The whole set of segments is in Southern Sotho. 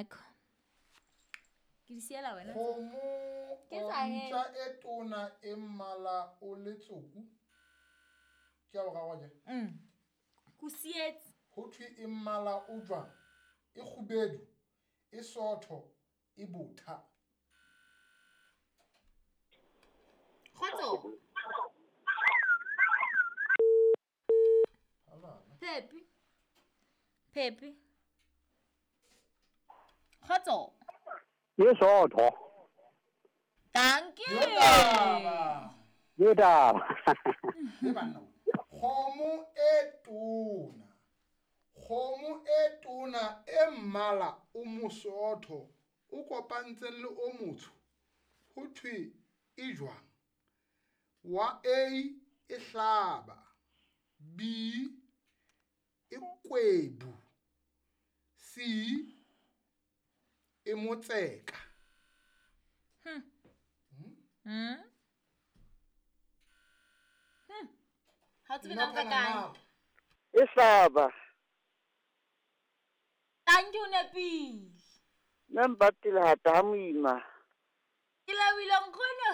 Michael. Ke di siela wena. Kgomo Ke tsa he. ntja e tona e mmala o letsoku. Ke a boraro akere? Ko sietse. Ho thwe e mmala o jwang? E kgubedu, e sootho, e botha. Kgotso. Phepi. Phepi. Kgotso. E sootho. Thank you. Yo taba. Yo taba. Le banna. Kgomo e tona. Kgomo e tona e mmala o mosootho o kopantseng le o motsho. Ho thwe e jwang? Wa A e hlaba, B e kwebu, C e motseka. Ha o tsebe na nka kae? E hlaba. Thank you, nepile. Nna mpatile hata ha moima. Ke lebohile nkgono.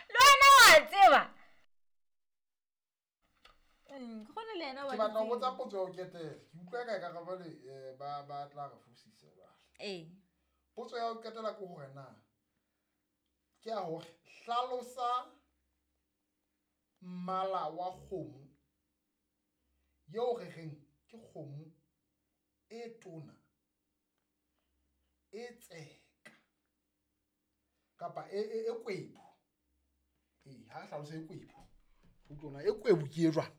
Le wena wa tseba. Nkgono le yena wa Ke batla ho tseba. botsa potso ya ho qetela. Ke utlwa ka ekare jwale, ba tla re fosisa jwale. Ee. Potso ya ho qetela ke hore na ke ya hore hlalosa mmala wa kgomo eo re reng ke kgomo e tona e tseka kapa e kwebu. Ee, ha re hlalose e kwebu. Utlwa e kwebu ke e jwang?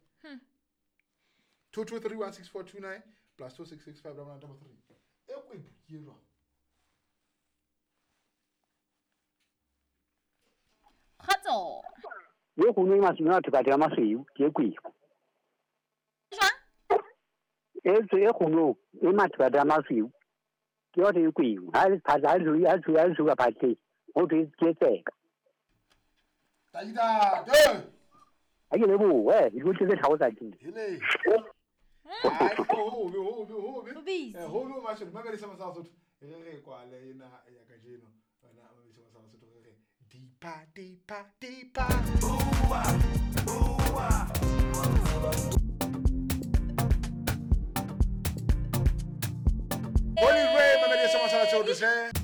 22316429 plus 2665933. E kwebu ke e jwang? Kgotso. Ye kgomo e masweu, a thekathe ya masweu, ke e kwebu. Jwang? E tswe e kgomo e mathekathe ya masweu. Ke yona e kwebu. Ha le phatla, ha le ha le ha le suka phatleng, ho thwe ke tseka. Ntate! Ha ke lebohe, di tlo tse tlhago tsa teng. Hele. Ai, ho be, ho be, ho be. Ho busy. Ho be mashome, mamedisa Masala Sotho. Re re kwale ena ya kajeno. Wena mamedisa Masala Sotho re re dipa dipa dipa. Bua, bua. Holy Ray, mamedisa Masala Sotho se.